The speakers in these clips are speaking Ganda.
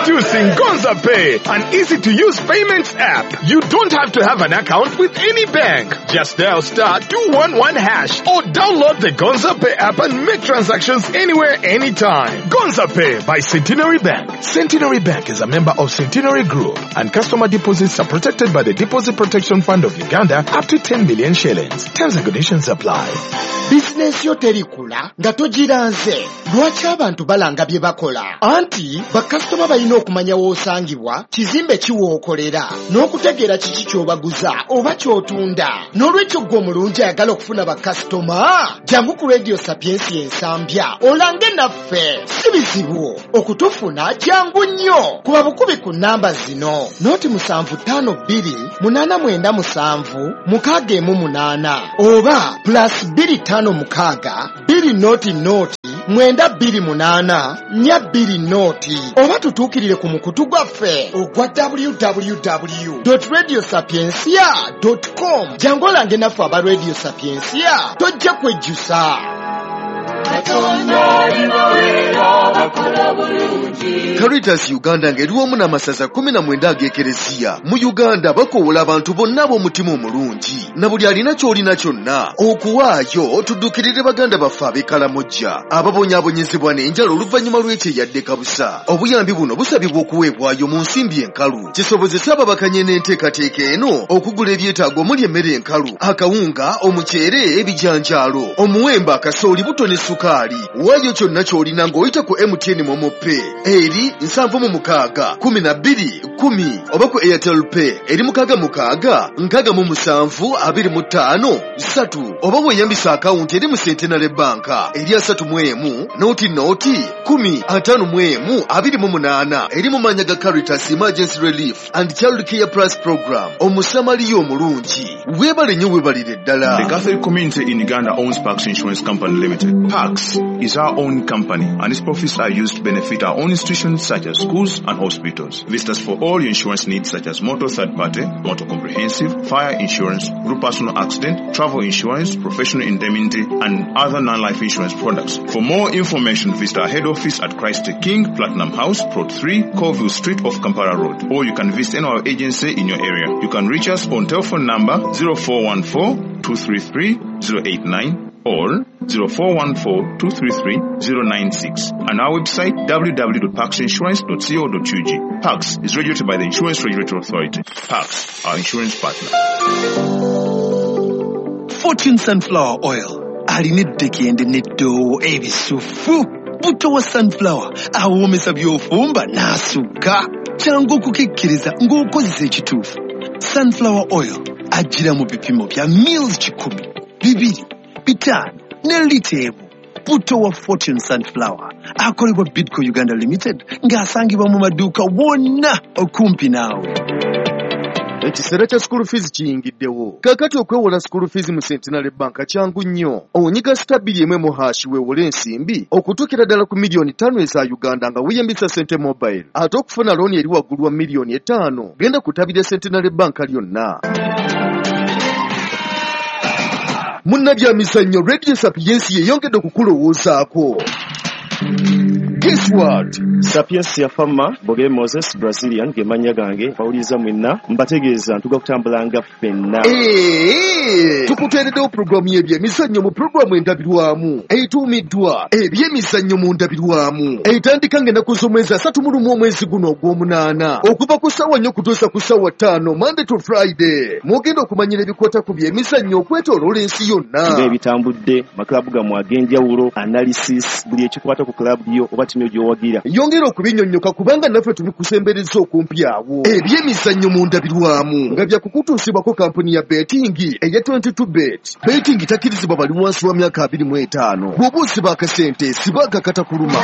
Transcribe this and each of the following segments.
Introducing Gonza Pay, an easy-to-use payments app. You don't have to have an account with any bank. Just dial *211# or download the Gonza Pay app and make transactions anywhere, anytime. Gonza Pay by Centenary Bank. Centenary Bank is a member of Centenary Group, and customer deposits are protected by the Deposit Protection Fund of Uganda up to 10 million shillings. Terms and conditions apply. Bizinensi yo terikula nga togiranze. Lwaki abantu balanga bye bakola? Anti bakasitoma balina okumanya w'osangibwa, kizimbe ki w'okolera, n'okutegeera kiki ky'obaguza oba ky'otunda. N'olwekyo ggwe omulungi ayagala okufuna bakasitoma, jangu ku Radio Sapiensia Ensambya olange naffe. Si bizibu okutufuna, jangu nnyo. Kuba bukubi ku nnamba zino: 075 2897 618 oba +256 200 928 420, oba tutuukirire ku mukutu gwaffe ogwa www.radiosapiencia.com. Jangu olange naffe aba Radio Sapiensia, tojja kwejjusa. Caritas Uganda ng'eri wamu n'amasaza 19 ag'ekereziya mu Uganda bakoowola abantu bonna ab'omutima omulungi na buli alina ky'olina kyonna okuwaayo tuddukirire baganda baffe ab'e Kalamojja ababonyaabonyezebwa n'enjala oluvannyuma lw'ekyeyadde kabusa. Obuyambi buno busabibwa okuweebwayo mu nsimbi enkalu kisobozese ababakanye n'enteekateeka eno okugula ebyetaago omuli emmere enkalu, akawunga, omuceere, ebijanjaalo, omuwemba, akasooli, buto ne sukaali. Waayo kyonna ky'olina ng'oyita ku MTN MoMo Pay eri 76 12 10 oba ku Airtel Pay eri 66 67 25 3 oba weeyambisa akawunti eri mu Centenary Bank eri 31 0 0 10 51 28 eri mu mannya ga Caritas Emergency Relief and Child Care Plus Program. Omusamaliya omulungi, weebale nnyo, weebalire ddala. The Catholic community in Uganda owns Pax Insurance Company Limited. Pax is our own company, and its profits are used to benefit our own institutions such as schools and hospitals. Visit us for all your insurance needs such as motor third party, motor comprehensive, fire insurance, group personal accident, travel insurance, professional indemnity, and other non-life insurance products. For more information, visit our head office at Christ the King, Platinum House, Plot 3, Colville Street off Kampala Road, or you can visit any our agency in your area. You can reach us on telephone number 0414 233 089 or 0414 233 096 and our website www.paxinsurance.co.ug. Pax is regulated by the Insurance Regulatory Authority. Pax, our insurance partner. Fortune Sunflower Oil alina eddekende n'eddoowo ebisufu. Buto wa sunflower awoomesa by'ofumba n'asukka. Kyangu okukikkiriza ng'okozesa ekituufu. Sunflower oil ajjira mu bipimo bya mils 100, 200, 500 ne lita 1. Buto wa Fortune Sunflower akolebwa Bidco Uganda Limited ng'asangibwa mu maduuka wonna okumpi naawe. Ekiseera kya school fees kiyingiddewo. Kaakati okwewola school fees mu Centenary Bank kyangu nnyo. Onyiga *211# weewole ensimbi okutuukira ddala ku miliyoni 5 eza Uganda nga weeyambisa Sente Mobile. Ate okufuna looni eri waggulu wa miliyoni 5, genda ku ttabi lya Centenary Bank lyonna. Munnabyamizannyo, Radio Sapiensia yeyongedde okukulowoozaako. Guess what? Sapiensia Fama Boge Moses Brazilian ge mannya gange, bawuliriza mwenna, mbategeeza ntuga kutambulanga ffenna. Tukuteereddewo pulogulaamu y'ebyemizannyo mu pulogulaamu endabirwamu etuumiddwa Ebyemizannyo mu Ndabirwamu, etandika ng'ennaku z'omwezi 31 omwezi guno ogw'omunaana okuva ku ssaawa 4 okutuusa ku ssaawa 5, Monday to Friday. Mwogenda okumanyira ebikwata ku byemizannyo okwetooloola ensi yonna, ng'ebitambudde, maklabu gammwe ag'enjawulo, analysis, buli ekikwata ku klabu yo oba ttiimu gy'owagira. Yongera okubinyonnyoka kubanga naffe tubikusembereza okumpi awo. Ebyemizannyo mu Ndabirwamu nga byakukutuusibwako kampuni ya betting eya 22 Bet. Betting takkirizibwa bali wansi wa myaka 25. Bw'oba osiba akasente, siba akakatakuluma.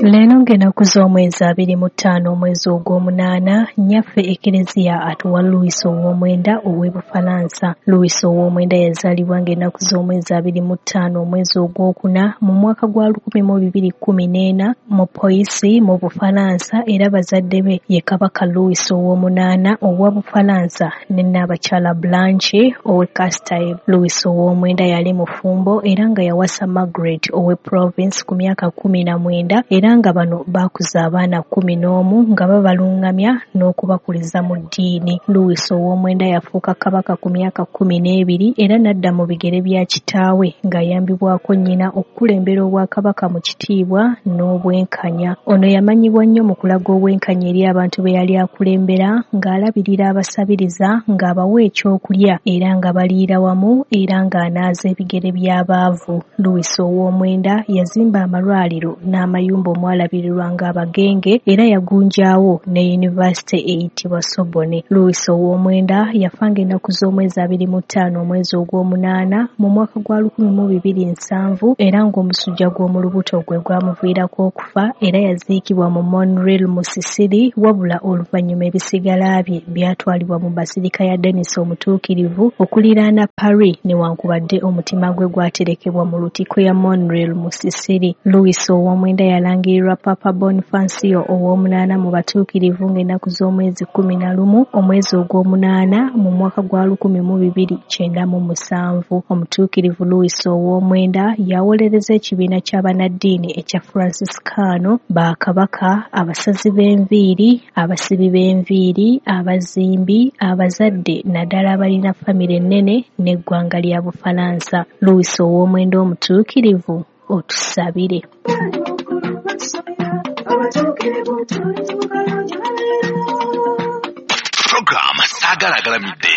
Leero ng'ennaku Ng'ennaku z'omwezi 25 omwezi ogw'omunaana, nnyaffe Ekereziya atuwa Louis ow'omwenda ow'e Bufalansa. Louis ow'omwenda yazaalibwa ng'ennaku z'omwezi 25 omwezi ogwokuna mu mwaka gwa 1214 mu Poissy mu Bufalansa, era bazadde be ye Kabaka Louis ow'omunaana owa Bufalansa ne Nnaabakyala Blanche ow'e Castile. Louis ow'omwenda yali mufumbo era nga yawasa Margaret ow'e Provence ku myaka 19, era nga bano baakuza abaana 11 nga babalungamya n'okubakuliza mu ddiini. Louis ow'omwenda yafuuka kabaka ku myaka 12 era n'adda mu bigere bya kitaawe ng'ayambibwako nnyina okukulembera obwakabaka mu kitiibwa n'obwenkanya. Ono yamanyibwa nnyo mu kulaga obwenkanya eri abantu be yali akulembera, ng'alabirira abasabiriza, ng'abawa ekyokulya era nga baliira wamu, era ng'anaaza ebigere by'abaavu. Louis ow'omwenda yazimba amalwaliro n'amayumba omwalabirirwanga abagenge, era yagunjaawo ne yunivasite eyitibwa Sorbonne. Louis ow'omwenda yafa ng'ennaku z'omwezi 25 omwezi ogw'omunaana mu mwaka gwa 1270, era ng'omusujja gw'omu lubuto gwe gwamuviirako okufa, era yaziikibwa mu Monreal mu Sicily, wabula oluvannyuma ebisigala bye byatwalibwa mu Basilica ya Denis Omutuukirivu okuliraana Paris, newankubadde omutima gwe gwaterekebwa mu Lutikko ya Monreal mu Sicily. Louis ow'omwenda yalangirirwa Papa Bonifacio ow'omunaana mu batuukirivu ng'ennaku z'omwezi 11 omwezi ogw'omunaana mu mwaka gwa 1297. Omutuukirivu Louis ow'omwenda yawolereza ekibiina ky'abannaddiini ekya Franciscano, bakabaka, abasazi b'enviiri, abasibi b'enviiri, abazimbi, abazadde naddala abalina famire ennene n'eggwanga lya Bufalansa. Louis ow'omwenda omutuukirivu, otusabire. Program Saagala Agalamidde.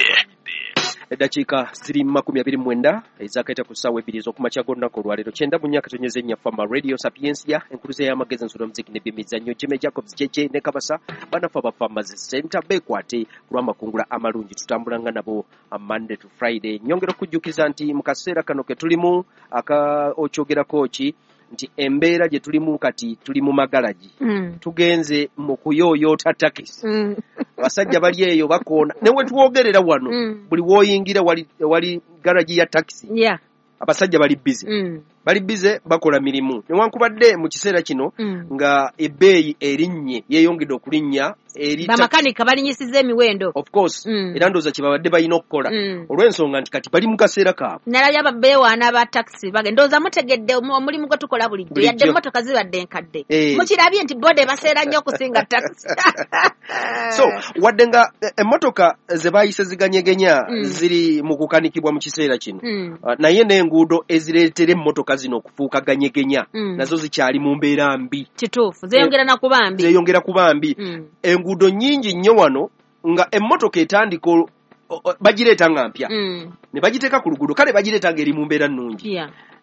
Eddakiika ziri 29 ezakaita ku ssaawa 2 ez'okumakya g'olunaku olwaleero 94.4 Fama Radio Sapiensia, enkuluze y'amagezi, ensolo, muziki n'ebyemizannyo. Jimmy Jacobs JJ ne Kabasa bannaffe aba Farmers Center beekwate ku lw'amakungula amalungi. Tutambulanga nabo Monday to Friday. Nnyongera okujjukiza nti mu kaseera kano ke tulimu aka okyogerako ki nti embeera gye tulimu kati tuli mu magalagi, tugenze mu kuyooyoota takisi. Abasajja bali eyo bakoona, ne we twogerera wano buli w'oyingira wali garagi ya takisi. Abasajja bali busy, bali busy bakola mirimu, newankubadde mu kiseera kino nga ebbeeyi erinnye, yeeyongedde okulinnya eri bamakanika balinyisiza emiwendo, of course, era ndowooza kye babadde balina okukola olw'ensonga nti kati bali mu kaseera kaabwe. Nalabye ababeewaana aba takisi bagenda, ndowooza mutegedde omulimu gwe tukola bulijjo, yadde emmotoka zibadde enkadde, mukirabye nti boda ebaseera nnyo okusinga takisi. So wadde nga emmotoka ze baayise ziganyegenya ziri mu kukanikibwa mu kiseera kino, naye n'enguudo ezireetera emmotoka zino okufuuka ganyegenya nazo zikyali mu mbeera mbi. Kituufu, zeeyongera na kuba mbi, zeeyongera kuba mbi. Enguudo nnyingi nnyo wano nga emmotoka etandika bagireeta nga mpya ne bagiteeka ku luguudo, kale bagireeta ng'eri mu mbeera nnungi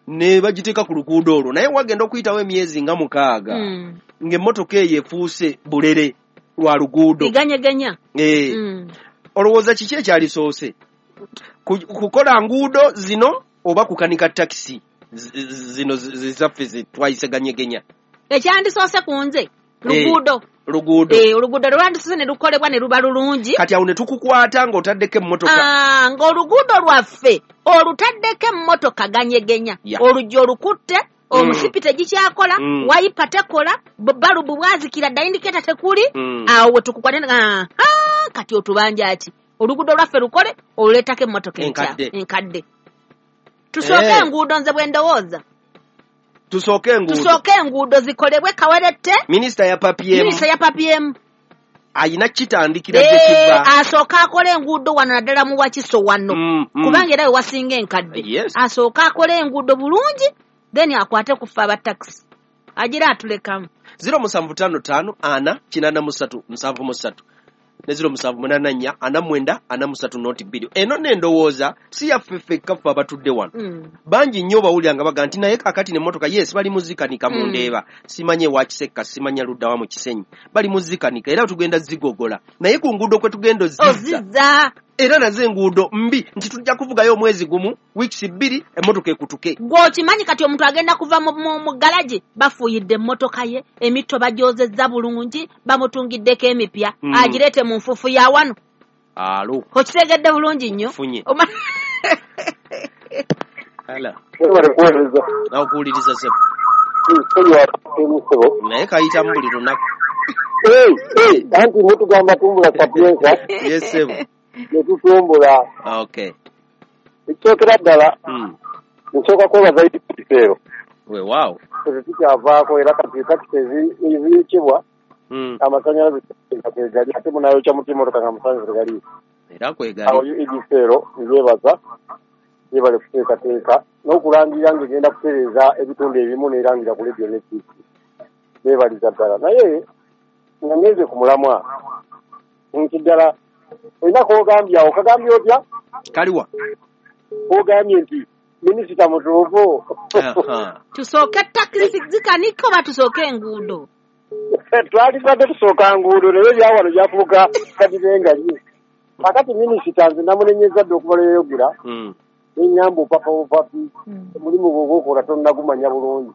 ne bagiteeka ku luguudo olwo, naye wagenda okuyitawo emyezi nga 6 ng'emmotoka eyo efuuse bulere lwa luguudo, iganyegenya. Olowooza kiki ekyalisoose, kukola nguudo zino oba kukanika takisi zino zaffe zitwayise ganyegenya? Ekyandisoose ku nze luguudo. Luguudo. Oluguudo lwandisoose ne lukolebwa ne luba lulungi. Kati awo ne tukukwata ng'otaddeko emmotoka. Ng'oluguudo lwaffe olutaddeko emmotoka ganyegenya, oluggi olukutte, omusipi tegikyakola, wayipa tekola, balubu bwazikira dda, indiketa tekuli, awo we tukukwata. Kati otubanja ki? Oluguudo lwaffe lukole, oluleetako emmotoka enkadde. Tusooke enguudo, nze bwe ndowooza. Tusooke enguudo. Tusooke enguudo zikolebwe Kawerette. Minisita ya PPM. Minisita ya PPM. Ayina kitandikira gye kiva. Asooka akole enguudo wano naddala mu Wakiso wano. Kubanga era we wasinga enkadde. Asooka akole enguudo bulungi, then akwate ku ffe aba takisi. Agira atulekamu. 0755 4 83 73 ne 0784 49 43 02. Eno n'endowooza si yaffe ffekka ffe abatudde wano. Bangi nnyo bawulira nga baga nti naye kaakati n'emmotoka yes bali muzikanika mu Ndeeba, simanye wa Kisekka, simanya ludda wa mu Kisenyi, bali muzikanika era tugenda zigogola, naye ku nguudo kwe tugenda ozizza. Era nazo enguudo mbi nti tujja kuvugayo omwezi gumu, weeks 2 emmotoka ekutuke. Gw'okimanyi kati omuntu agenda kuva mu galagi, bafuuyidde emmotoka ye, emitto bagyozezza bulungi, bamutungiddeko emipya, agireete mu nfuufu ya wano. Alo. Okitegedde bulungi nnyo. Funye. Ala. Nakuwuliriza ssebo. Naye kayitamu buli lunaku. Anti mutugamba tumbula Sapienza. Yes ssebo. Ne tutumbula. Okay. Ekisookera ddala nsooka kwebaza ekiseero. Weewaawo. Tetukyavaako era kati takisi eziyokebwa amasannyalaze kwegali ate munayokya muti emmotoka nga amasannyalaze tegali. Era kwegali. Awo ekiseero nzeebaza yebale kuteekateeka n'okulangirira ng'egenda kutereeza ebitundu ebimu n'erangira ku leediyo ne TV. Beebaliza ddala naye nga ngenze ku mulamwa nti ddala olina k'ogambye awo kagambye otya? Kaliwa. K'ogambye nti minisita mutuufu. Tusooke takisi zikanike oba tusooke enguudo? Twalibadde tusooka nguudo naye ebyawano byafuuka kadibengalye. Kakati minisita nze namunenyeza dda okuva lwe yayogera. Neŋŋamba opapa bupapi omulimu gwo ogw'okola tonnagumanya bulungi.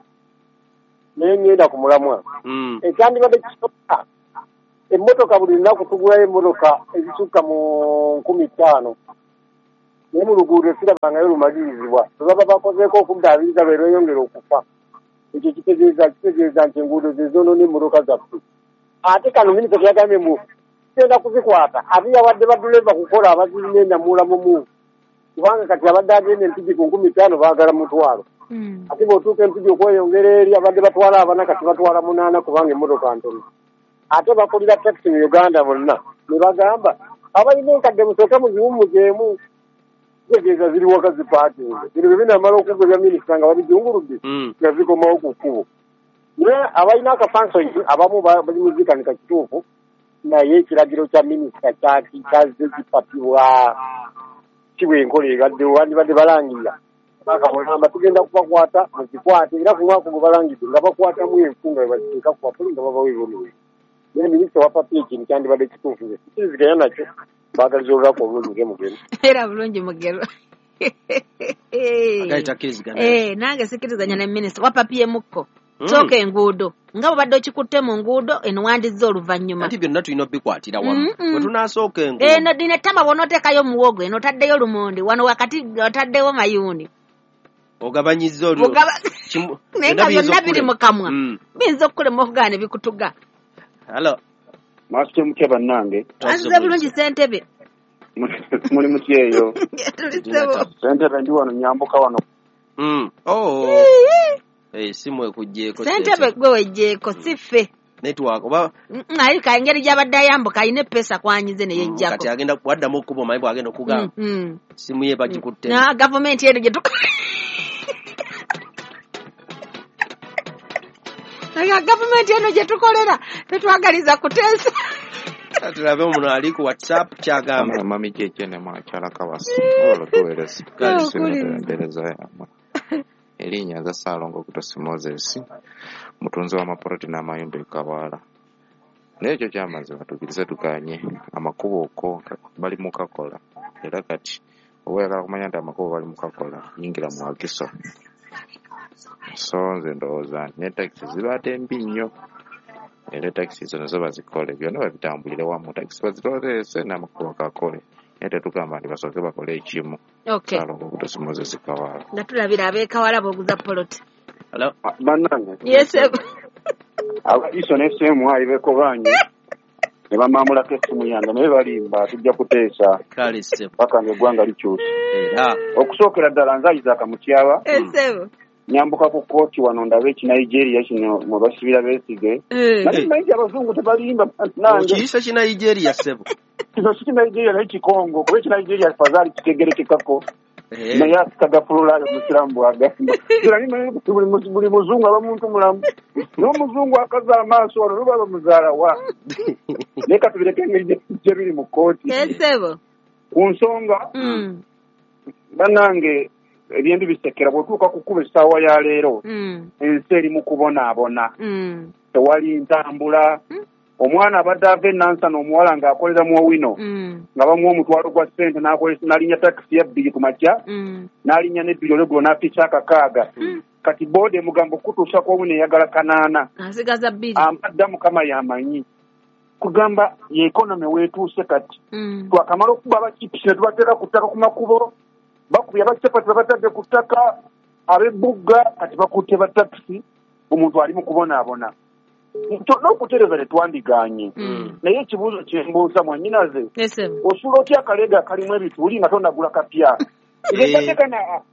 Naye ŋŋenda ku mulamwa. Ekyandibadde kisooka emmotoka buli lunaku tugulayo emmotoka ezisukka mu 5,000. Naye mu luguudo sirabangayo lumalirizibwa. Bwe baba bakozeeko okuddaabiriza lwe lweyongera okufa. Ekyo kitegeeza nti enguudo ze zoonoona emmotoka zaffe. Ate kano minisita yagambye mbu tugenda kuzikwata ate yawadde badduleeva kukola abazirina ennamuula mumu. Kubanga kati abadde agenda Empigi ku 5,000 baagala 1,000. Ate bw'otuuka Empigi okweyongera eri abadde batwala abana kati batwala 8 kubanga emmotoka ntono. Ate bakulira takisi mu Uganda bonna ne bagamba abalina enkadde musooke muziwummuzeemu. Kitegeeza ziri waka zipaakinze. Bino bwe binaamala okugwa ebya minisita nga babijunguludde nga zikomawo ku kkubo. Naye abalina akafansonyi abamu bali mu zikanika kituufu naye ekiragiro kya minisita kyazze kipapibwa. Si bwe enkola ebaddewo wandibadde balangirira. Bakabonamba tugenda kubakwata muzikwate era ku mwaka gwe balangidde nga bakwatamu enfu nga bwe baziteeka ku bapuli nga babawa ebibonerezo. Naye minisita wapapye ekintu kyandibadde kituufu nze sikiriziganya nakyo. Baagaliza olunaku obulungi nze Mugero. Era bulungi Mugero. Nange sikkiriziganya ne minisita wapapye mukko. Sooka enguudo nga bw'obadde okikutte mu nguudo eno wandizza oluvannyuma. Anti byonna tulina obbikwatira wamu. Bwe tunaasooka enguudo. Eno dino ettama bw'onooteekayo muwogo eno otaddeyo lumonde wano wakati otaddewo mayuuni. Ogabanyizza olwo. Naye nga byonna biri mu kamwa. Biyinza okukulema okugaana ne bikutuga. Hello. Mwasitye mutya bannange? Twasuze bulungi ssentebe. Muli mutya eyo? Ssentebe ndi wano nyambuka wano. Simu ekuggyeko. Ssentebe gwe weggyeko si ffe. Network oba alika engeri gy'abadde ayambuka alina eppeesa kwanyize ne yeggyako. Kati agenda waddamu okkuba omanyi bw'agenda okugamba. Simu ye bagikutte. Na gavumenti eno gye gavumenti eno gye tukolera tetwagaliza kuteesa. Tulabe omuno ali ku WhatsApp kyagamba. Mami Jeje ne mwakyala Kabasa. Olwo tuweereza. Empeereza yammwe. Erinnya nze Ssaalongo Kutosi Moses, mutunzi w'amapoloti n'amayumba e Kawaala. Naye ekyo kyamazima tukkirize tuganye amakubo ko bali mu kakola era kati oba oyagala kumanya nti amakubo bali mu kakola yingira mu Wakiso. So nze ndowooza nti ne takisi zibadde mbi nnyo era takisi zino zo bazikole byonna babitambulire wamu takisi bazitoleese n'amakubo gakole naye tetugamba nti basooke bakole ekimu. Okay. Ssaalongo Kutosi Moses Kawaala. Nga tulabira ab'e Kawaala booguza poloti. Hello. Bannange. Yes. Abagiso ne SMI beekobaanye ne bamaamulako essimu yange naye balimba tujja kuteesa Kale ssebo. paka ng'eggwanga likyuse. Era Okusookera ddala nze Isaac Mutyaba Ssebo. nyambuka ku kkooti wano ndabe ekinigeria kino mwe basibira Besigye. Naye mmanyi nti abazungu tebalimba bannange. Okiyise kinigeria ssebo. Kino si kinigeria naye kikongo kuba ekinigeria fazaali kitegerekekako. Naye asikagafululayo omusiraamu bw'agamba. Buli muzungu aba muntu mulamu. N'omuzungu akaza amaaso wano luba bamuzaala wa. Naye katubireke engeri gye biri mu kkooti. Ssebo. Ku nsonga bannange ebyembi bisekera bw'otuuka ku kkubo essaawa ya leero ensi eri mu kubonaabona. Tewali ntambula. Omwana abadde ava e Nansana omuwala ng'akolera mu Owino, nga bamuwa omutwalo gwa ssente n'alinnya takisi ya 2 ku makya, n'alinnya n'ebbiri olweggulo n'afiisa 6. Kati booda emugamba okutuusa ku Owino eyagala 8. Asigaza 2. Ampadda Mukama y'amanyi. Kugamba ye economy weetuuse kati. Twakamala okuba abachipusi ne tubateeka ku ttaka ku makubo, bakubye abachapati babatadde ku ttaka, ab'ebbugga kati bakutte ba takisi, omuntu ali mu kubonaabona. N'okutereeza tetwandigaanye. Naye ekibuuzo kye mbuuza mwannyinaze, osula otya akaleega akalimu ebituli nga tonnagula kapya?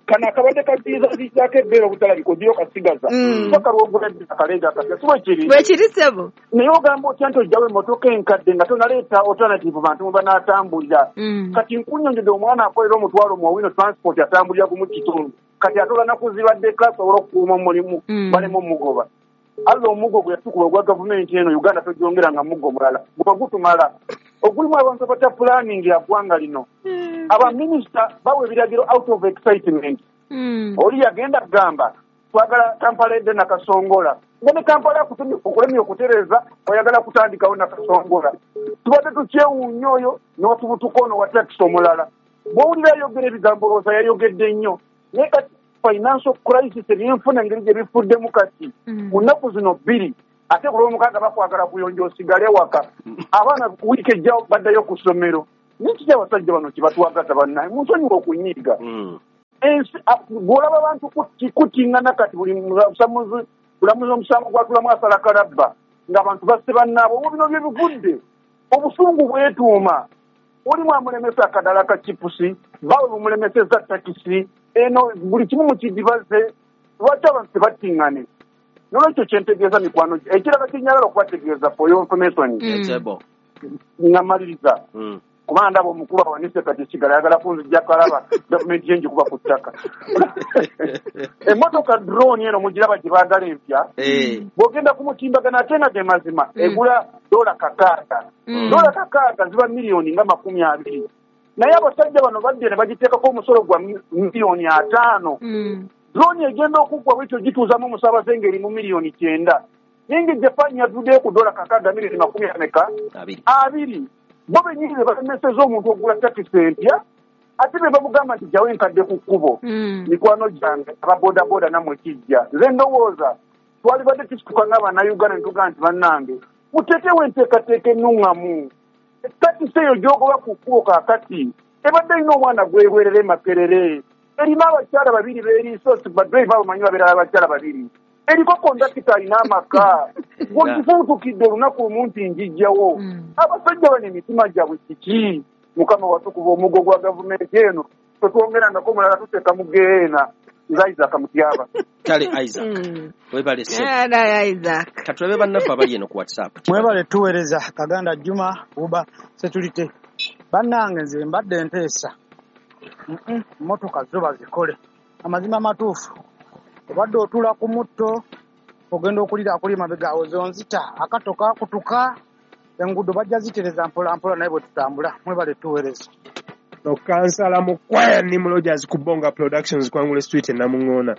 Kano akabadde kaziizaziizaako ebbeere obutalabika ogiyo kasigaza. Paka lw'ogula akaleega akapya, si bwe kiri? Bwe kiri ssebo. Naye ogamba otya nti ojjawo emmotoka enkadde nga tonaleeta alternative bantu mwe banaatambulira. Kati nkunnyonnyodde omwana akolera omutwalo mu Owino Transport atambulira gumu kitundu. Kati atola nakuzibaddeko asobola okukuuma omulimu baleme omugoba. Allah omuggo gwe yatukuba ogwa gavumenti eno Uganda togyongera nga muggo mulala guba gutumala. Ogulimu abantu abata planning ya ggwanga lino. Abaminisita bawa ebiragiro out of excitement. Oli yagenda kugamba twagala Kampala edde Nakasongola. Nga ne Kampala okulemye okutereeza oyagala kutandikawo Nakasongola. Tubadde tukyewuunya oyo n'otubutuka ono wa takisi omulala. Bw'owulira ayogera ebigambo olowooza yayogedde nnyo. Naye kati financial crisis ebyenfuna engeri gye bifuddemu kati mu nnaku zino 2 ate ku lw'omukaaga bakwagala kuyonja osigale waka. Abaana wiiki ejja baddayo ku ssomero. Naye kiki abasajja bano kye batwagaza bannaye? Munsonyiwe okunyiiga. Ensi bw'olaba abantu kutiŋŋana kati buli mulamuzi omusango gwatulamu asala kalabba ng'abantu basse bannaabwe. Obwo bino bye bivudde. Obusungu bwetuuma. Olimu amulemesa akadala ka chipusi, bawe bumulemesezza takisi, eno buli kimu mukidibaze. Lwaki abantu tebattiŋŋane? Nolwekyo kye ntegeeza mikwano ekirala kye njagala okubategeeza for your information. Nga mmaliriza. Kubanga ndaba omukulu awanise kati sigala ayagala kunzijja kalaba gavumenti ye ngikuba ku ttaka. Emmotoka drone eno mugiraba gye baagala empya. Bw'ogenda ku mutimbagano ate nga ge mazima egula $6. $6 ziba miliyoni nga 20. Naye abasajja bano badde ne bagiteekako omusolo gwa miliyoni 5. Drone egenda okuggwa bwetyo gituuzamu omusaabaze ng'eri mu miliyoni 9. Naye nga Japan yavuddeyo ku $6 miliyoni 20. Bo bennyini be balemesezza omuntu ogula takisi empya ate be bamugamba nti jjawo enkadde ku kkubo. Mikwano gyange aba bodaboda nammwe kijja. Nze ndowooza twalibadde tusituka ng'Abannayuganda ne tugamba nti bannange muteekewo enteekateeka ennuŋŋamu. Takisi eyo gy'ogoba ku kkubo kaakati ebadde erina omwana gwerwerera e Makerere. Erina abakyala 2 beeriisa, badriva bamanyi babeera abakyala 2. Eriko kondakita alina amaka. Bw'ogifuutukidde olunaku lumu nti njijjawo. Abasajja bano emitima gyabwe kiki? Mukama watukuba omuggo gwa gavumenti eno tetwongerangako omulala tuteeka mu geena. Nze Isaac Mutyaba. Kale Isaac. Webale ssebo. Isaac. Katulabe bannaffe abali eno ku WhatsApp. Mwebale tuweereza Kaganda Juma Uba Security. Bannange nze mbadde nteesa. Mmotoka zo bazikole. Amazima amatuufu. Obadde otuula ku mutto ogenda okulira akuli mabega awo zonzita akato kakutuka enguudo bajja zitereza mpola mpola naye bwe tutambula. Mwebale tuweereza. Kansala Mukwaya ni Rogers ku Bonga Productions Kwangule Street e Namuŋŋoona.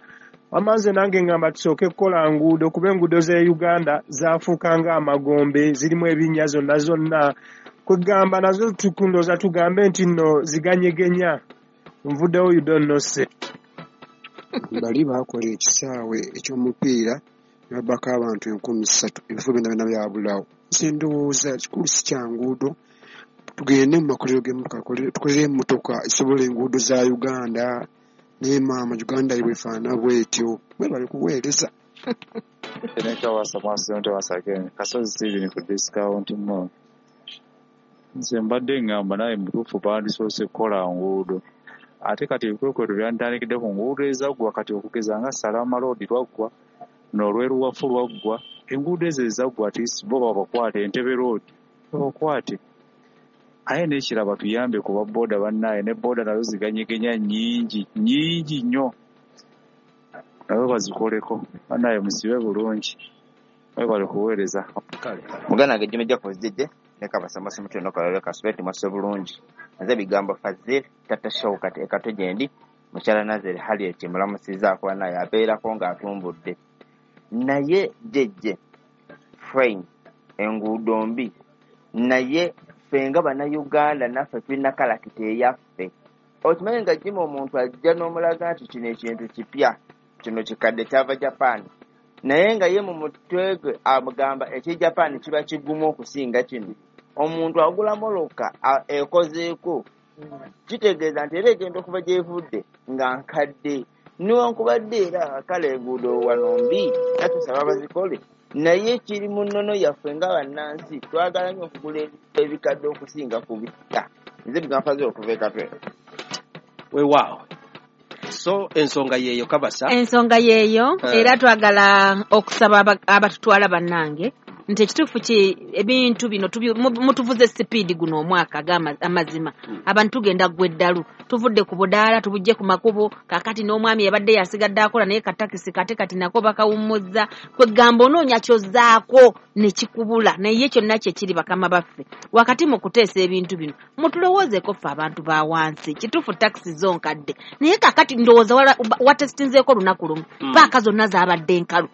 Amanze nange ngamba tusooke kukola nguudo kuba enguudo z'e Uganda zaafuuka ng'amagombe zirimu ebinnya zonna zonna. Kwegamba nazo tukundooza tugambe nti nno ziganyegenya. Nvuddewo you don't know say. Bali baakola ekisaawe eky'omupiira ne babbako abantu 3,000 ebifo byonna byonna byabulawo. Nze ndowooza kikulu si kya nguudo, tugende mu makolero g'emmotoka tukolere emmotoka esobola enguudo za Uganda. Naye maama Uganda bwefaanana bwetyo. Mwebale kuweereza. Kasozi Steven ku discount mall. Nze mbadde ngamba naye mutuufu bandisoose kukola nguudo. Ate kati ebikwekweto byantandikidde ku nguudo ezaggwa kati okugeza nga Salama Road lwaggwa n'olweruwafu lwaggwa. Enguudo ezo ezaggwa at least bo babakwate, Entebbe Road babakwate. Aye n'ekirala tuyambe ku babbooda bannaye ne booda nazo ziganyegenya nnyingi nnyingi nnyo. Nabo bazikoleko bannaye musibe bulungi. Mwebale kuweereza. Muganda wange Jimmy Jacobs JJ ne Kabasa Masimutu n'okalala kasubeti mwase bulungi. Nze bigambo Fazil Tata Shaukat ekato gyendi mukyala Nazeri Harriet mulamusizaako naye abeerako ng'atumbudde. Naye JJ Frame Enguudo mbi, naye ffe nga Bannayuganda naffe tulina kalakita eyaffe. Okimanyi nga Jima omuntu ajja n'omulaga nti kino ekintu kipya, kino kikadde kyava Japan, naye nga ye mu mutwe gwe amugamba ekye Japan kiba kigumu okusinga kino. Omuntu agula mmotoka ekozeeko, kitegeeza nti era egenda okuva gy'evudde nga nkadde. Newankubadde era kale enguudo wano mbi, natusaba bazikole, naye kiri mu nnono yaffe nga bannansi twagala nnyo okugula ebikadde okusinga ku bipya. Nze Bigambo okuva e Katwe. Weewaawo. So ensonga yeeyo Kabasa. Ensonga yeeyo era twagala okusaba abatutwala bannange nti ekituufu ki ebintu bino mutuvuze sipiidi guno omwaka amazima. Abantu tugenda ggwa eddalu, tuvudde ku budaala tubujje ku makubo, kaakati n'omwami yabadde yasigadde akola naye katakisi kate kati nako bakawummuzza. Kwegamba onoonya ky'ozzaako ne kikubula, naye kyonna kye kiri bakama baffe wakati mu kuteesa ebintu bino mutulowoozeeko ffe abantu ba wansi. Kituufu takisi zo nkadde, naye kaakati ndowooza watesitinzeeko olunaku lumu paaka zonna zaabadde nkalu.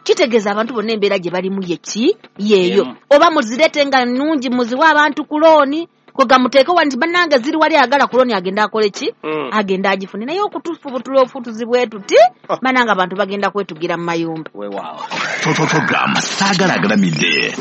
Kitegeeza abantu bonna embeera gye balimu ye ki yeeyo. Oba muzireete nga nnungi muziwe abantu ku looni, kwega muteeke wano nti bannange ziri wali ayagala ku looni agenda akole ki, agenda agifune. Naye okutufubutula obufutuzi bwe tuti bannange abantu bagenda kwetugira mu mayumba. Weewaawo. Program Saagala Agalamidde.